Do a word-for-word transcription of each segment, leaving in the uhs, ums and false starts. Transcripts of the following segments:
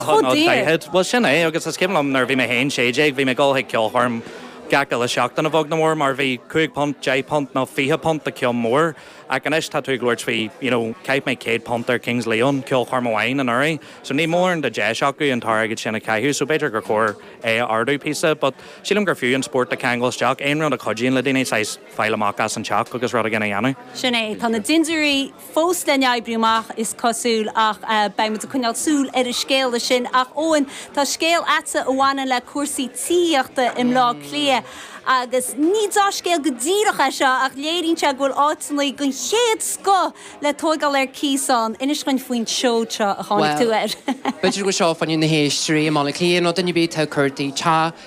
Chomh daor. Well sin é agus is cuimhin liom nuair bhí mé féin sé déag bhí mé ag dul chuig ceolchoirm gach uile seachtain a bheag nó mór mar bhí cúig punt, deich punt nó fiche punt do ceann mór ach anois tá tú ag labhairt faoi you know, chaith mé céad punt ar Kings Leon ceolchoirm amháin anuraidh, so ní mór de deis acu an t-airgead sin a chaitheamh, so b'fhéidir gur chóir é a ardú píosa, but sílim gur fiú an spórt a cheangal isteach aon rud a chuidíonn le daoine saghas fáil amach as an teach agus rud éigin a dhéanamh. Sin é tá na dintiúirí fós le n-oibriú amach is cosúil ach uh, beidh muid ag coinneáil súil ar an scéal sin ach Eoin tá scéal agat a bhaineann le cúrsaí tithíochta i mBleá Cliath. agus ní dea-scéal go díreach é seo ach léiríonn sé go bhfuil áiteanna den chéad scoth le tógáil ar cíos ann inis dúinn faoin seod seo a tháinig tú air. B'fhéidir go seo fan na héisteoirí i mBaile Cliath nó duine bith cuairtí te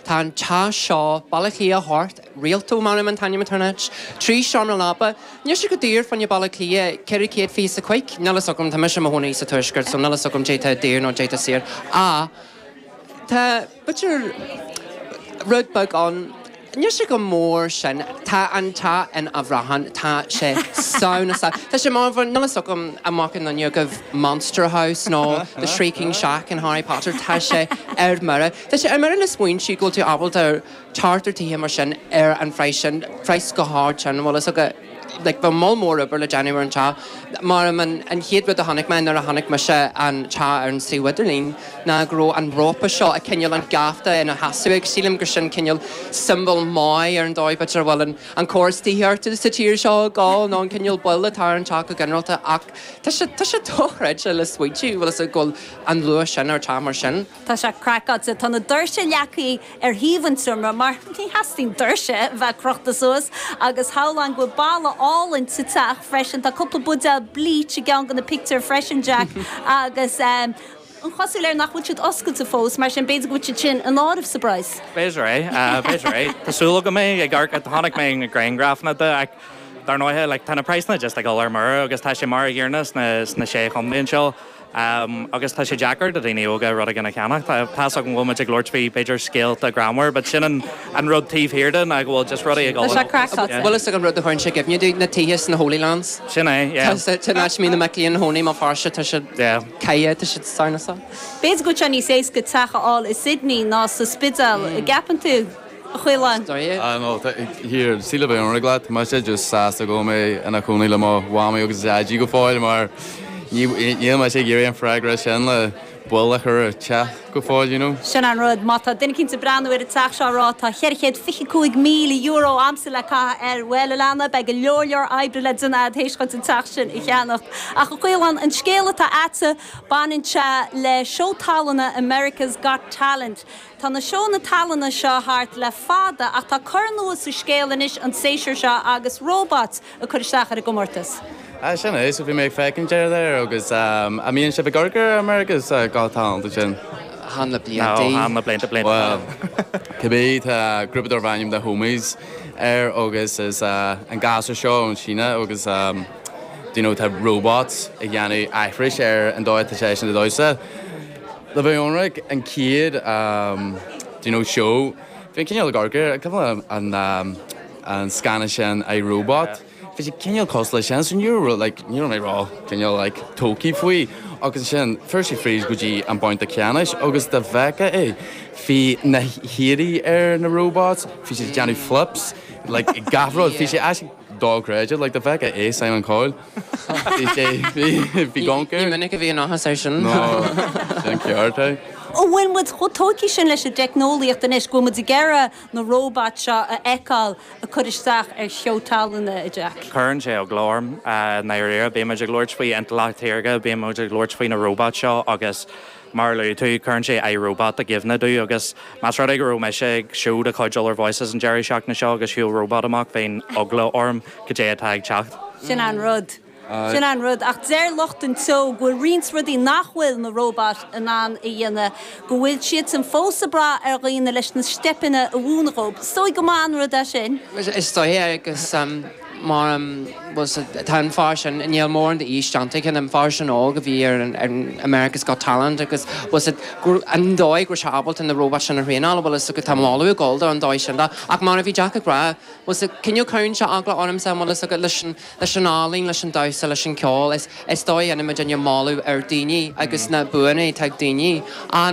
tá an teach seo Baile Cliath Thort Rialto mar an t-ainm internet, trí seomra leapa, Níl sé go daor fan Baile Cliath ceithre chéad fiche cúig, Níl a fhios agam tá mise i mo chónaí sa tuaisceart, so níl a fhios agam cad é tá daor nó cad é tá saor. A Tá b'fhéidir rud beag ann Níl sé go mór sin tá an tá in Abraham tá sé sauna sa Tá sé mar níl a fhios agam amach an go Monster House nó The Shrieking Shack in Harry Potter tá sé ar mire. Tá sé ar mire le smaointiú go bhfuil tú ábalta teacht ar tithe mar sin ar an phraghas sin praghas go hard sin bhfuil a fhios agat like bheadh moll mór obair le déanamh ar an teach mar an an chéad rud a chonaic mé nuair a chonaic mise an teach ar an suíomh idirlín ná go raibh an rópa seo a cineál an geafta ina sheasamh ag sílim gur sin cineál symbol maith ar an dóigh b'fhéidir bhfuil an an córas tithíochta sa tír seo gá nó an cineál bail atá ar an teach go ginearálta ach tá sé tá sé dochreidte le smaointiú bhfuil a go bhfuil an luach sin ar teach mar sin. Tá sé craiceáilte tá na doirse leagtha ar thaobh an tseomra mar ní theastaíonn doirse bheith crochta suas agus shamhlóinn go bhfuil balla álainn sa teach freisin tá cúpla buidéal bleach i gceann de na pictiúir freisin Jack agus um, an chosúil air nach bhfuil siad oscailte fós mar sin b'fhéidir go bhfuil siad sin in áireamh sa bpraghas. B'fhéidir é b'fhéidir é Tásúla go mé ag ar tháinig mé na grianghrafanna de ach dar ndóigh like, tá na praghsanna just ag dul ar mire agus tá sé mar an gcéanna sna sna sé chontae seo. Um, agus tá sé deacair do daoine óga rud éigin a cheannach Tá tá go bhfuil muid ag labhairt faoi b'fhéidir scéalta greannmhar, but sin an, an rud taobh thiar de ná go bhfuil just rudaí ag Tá sé craiceáilte. Bhfuil a an rud a chuireann sé i gcuimhne domh na tithe sna Holy Lands. Sin é yeah. Tá mí na meclíon hóí má farse tá sé Yeah. caiie tá siad sarnasa. B'fhéidir go bhfuil sé níos éasca teach a fháil i Sydney ná sa Spidéal mm. gceapann tú a Chaoláin. Ah, no, here sí le bheith ionraic leat, tá sé just sásta go mé ina chónaí le mo mhamaí agus daidí go fóill mar níl mé sé ag iarraidh an freagra sin le buil a chur teach go fóill, you know. Sin an rud má tá duine ag breathnú ar an teach seo rá tá ceithre chéad fiche cúig míle euro agamsa le caitheamh air bhuel a leana beidh go leor leor oibre le déanamh théis chun an teach sin a cheannacht. Ach a Chaoláin an scéal atá agat baineann sé le seó tallann America's Got Talent. Tá na seónna tallainne seo thart le fada ach tá cor nua sa scéal anois an séasúr seo agus robots a chur isteach ar an gcomórtas. Ah, sin é, so bhí mé ag féachaint air there agus um, a mbíonn sibh ag amharc ar America's uh, Got Talent sin. Chan le blianta. Chan le blianta blianta. Well, cibé tá grúpa darb ainm The Homies air agus is uh, an gasúr seo ón Síne agus um, do you know, tá robots ag déanamh aithris ar an dóigh tá sé sin ag damhsa. Le bheith ionraic an chéad um, do you know, show Bhí cineál gargur an um, an scannán sin I Robot. Bhí sé cineál cosúil sin san ní like, ní mé rá cineál like, tógtha faoi agus sin fuair sé fríd go dtí an babhta ceannais agus dá bhfeicfeá é. Bhí na héadaí ar na robots, bhí sé déanamh flips, like, gach rud, bhí sé actually dochreidte, like, dá bhfeicfeá é Simon Cowell. Bhí sé bhí gonker. Ní minic a bhí an áthas air sin. No, sin ceart é. Ó bhfuil muid chomh tógtha sin leis an teicneolaíocht anois go muid ag iarraidh na robots seo a fheiceáil ag cur isteach ar sheó tallainne a Jack. Cuireann sé eagla orm dáiríre, bíonn muid ag labhairt faoi intleacht shaorga, bíonn muid ag labhairt faoi na robots seo agus mar luaigh tú cuireann sé I Robot i gcuimhne domh agus más rud é go raibh mise ag seó de chuid Other Voices an deireadh seachtaine seo agus shiúil robot amach bheadh eagla orm cad é atá ag teacht. Sin an rud. Sin an rud ach deir lucht an tseó go bhfuil roinnt rudaí nach bhfuil na robots in ann a dhéanamh, go bhfuil siad san fós ag brath ar dhaoine leis na steipeanna a mhúineadh dóibh. So go maith an rud é sin. Is dóigh agus um, Mar tá an fear sin níl mórán d'aois déanta an fear sin óg a bhí ar an America's Got Talent agus was it an dóigh go raibh sé ábalta na robot sin a thraenáil bhfuil is go tá moladh ag dul an dóigh sin ach mar a bhí Jack ag rá was it cineál cuireann sé eagla ormsa bhfuil is leis an leis an ealaín leis an damhsa leis an ceol is is dóigh ina muid moladh ar daoine agus na buanna ag daoine.